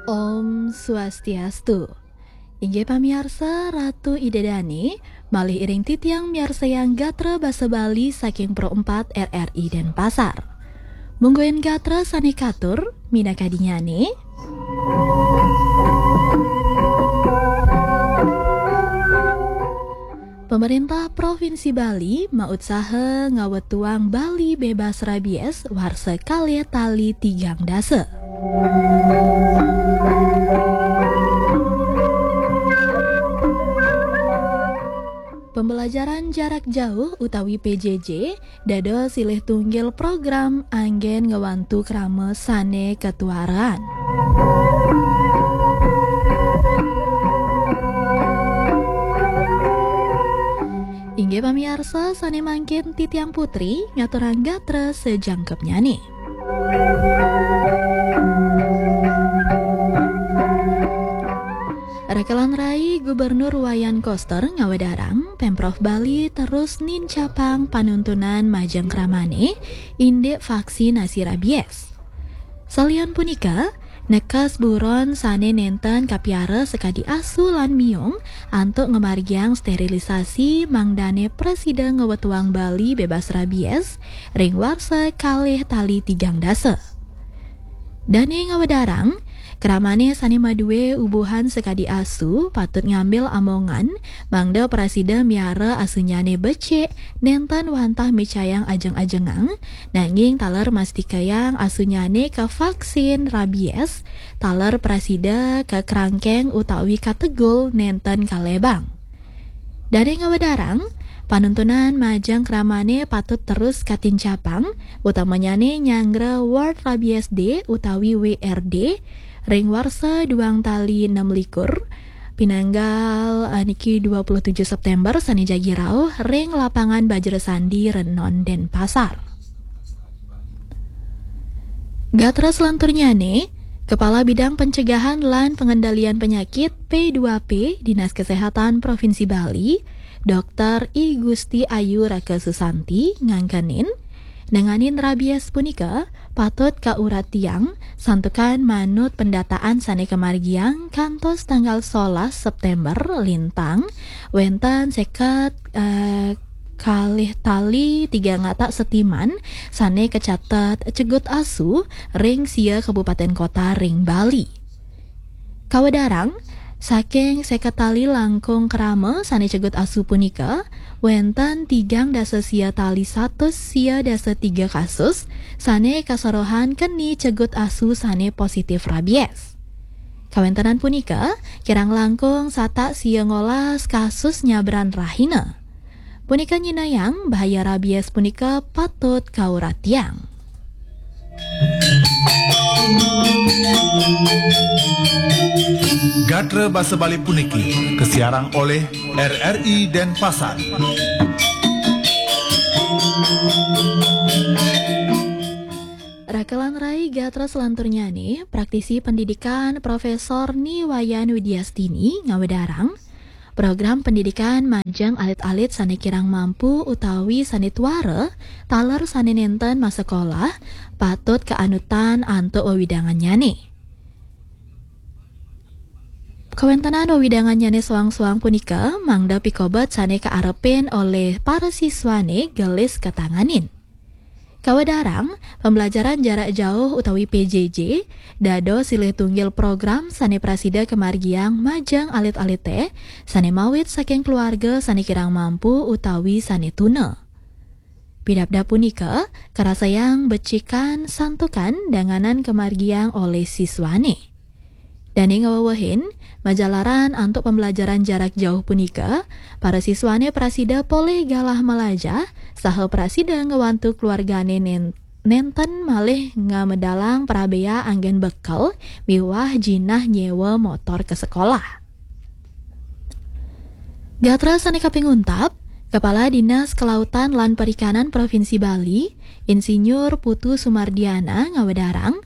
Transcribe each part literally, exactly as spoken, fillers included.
Om Swastiastu. Inggih pamiarsa, Ratu Ida Dane, malih iring titiang miarsayang gatra basa Bali saking Pro empat R R I Denpasar. Mungguing gatra sane katur, minakadinyane. Pemerintah Provinsi Bali mautsaha ngawetuang Bali bebas rabies warsa kalih tali tigang dasa. Pembelajaran jarak jauh utawi P J J dados silih tunggil program anggen ngwantu krama sane katuaran. Inggih pamiarsa, sane mangkin titiang Putri ngaturang gatra sajangkepnyane. Rekelan rai Gubernur Wayan Koster ngawedarang, Pemprov Bali terus nincapang panuntunan majeng kramane indik vaksinasi rabies. Salian punika, nekes buron sane nenten kapiara sakadi asu lan miung antuk ngamargiang sterilisasi mangdane prasida ngawetuang Bali bebas rabies ring warsa kalih tali tigang dasa. Dane ngawedarang, kramane sane madue ubuhan sakadi asu patut ngambil amongan mangda prasida miara asunyane becik, nenten wantah micayang ajeng-ajengang, nanging taler mastikayang asunyane kavaksin rabies, taler prasida kakrangkeng utawi kategul nenten kalebang. Dane ngawedarang, panuntunan majeng kramane patut terus katincapang, utamanyane nyanggra World Rabies Day utawi W R D, ring warsa duang tali enam likur, pinanggal, eh, niki dua puluh tujuh September sane jagi rauh ring Lapangan Bajra Sandi Renon, Denpasar. Gatra selanturnyane, Kepala Bidang Pencegahan lan Pengendalian Penyakit P dua P Dinas Kesehatan Provinsi Bali, Doktor I Gusti Ayu Raka Susanti ngangkenin, nanganin rabies punika patut kauratiang santukan manut pendataan sane kamargiang kantos tanggal solas September lintang, wenten seket, eh, kalih tali tigang atak setiman sane kacatet cegut asu ring sia kabupaten kota ring Bali. Kawedarang, saking seket tali langkung krama sane cegut asu punika, wenten tigang dasa sia tali satus sia dasa tiga kasus sane kasorohan keni cegut asu sane positif rabies. Kawentenan punika kirang langkung satak sia ngolas kasus nyabran rahina. Punika nyinayang bahaya rabies punika patut kauratiang. Gatra basa Bali puniki kasiarang oleh R R I Denpasar. Rakelan rai gatra selanturnyane, praktisi pendidikan Profesor Ni Wayan Widiastini ngawedarang, program pendidikan majeng alit-alit sane kirang mampu utawi sane tuara, taler sane nenten masekolah, patut kaanutan antuk wewidangannyane. Kawentenan wewidangannyane soang-soang punika mangda pikobet sane kaarepin olih para siswane gelis katanganin. Kawedarang, pembelajaran jarak jauh utawi P J J dados silih tunggil program sane prasida kamargiang majeng alit-alite sane mawit saking keluarga sane kirang mampu utawi sane tuna. Pidabdab punika karasayang becikan santukan danganan kamargiang olih siswane. Dane ngawewehin, majalaran antuk pembelajaran jarak jauh punika, para siswane prasida polih galah malajah saha prasida ngwantu keluargane nen-, nenten malih ngamedalang prabea anggen bekel miwah jinah nyewa motor ka sekolah. Gatra sane kaping untat, Kepala Dinas Kelautan lan Perikanan Provinsi Bali, Insinyur Putu Sumardiana ngawedarang,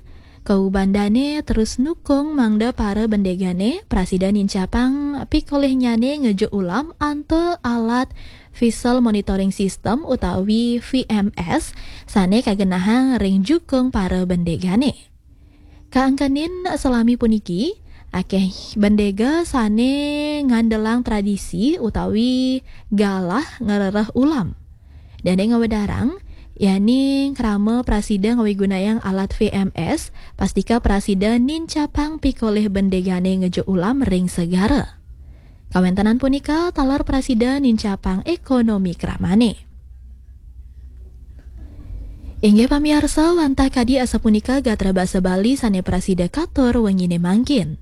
kaubandane terus nukung mangda para bendegane prasida nincapang pikolihnyane ngejuk ulam antuk alat Vessel Monitoring System utawi V M S sane kagenahang ring jukung para bendegane. Kaangkenin salami puniki, akeh bendega sane ngandelang tradisi utawi galah ngrereh ulam. Dane ngawedarang, yani krama prasida ngawigunayang alat V M S, pastika prasida nincapang pikolih bendegane ngejuk ulam ring segara. Kawentenan punika taler prasida nincapang ekonomi kramane. Inggih pamiarsa, wantah kadi asapunika gatra basa Bali sane prasida katur wengine mangkin.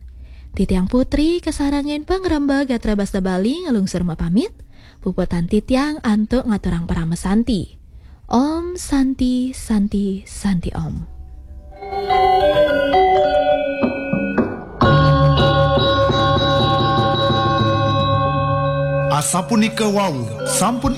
Titiang Putri kasarengin pangremba gatra basa Bali nglungsur mapamit. Puputang titiang antuk ngaturang parama santi. Om Santi, Santi, Santi Om. Asapunika wau, sampun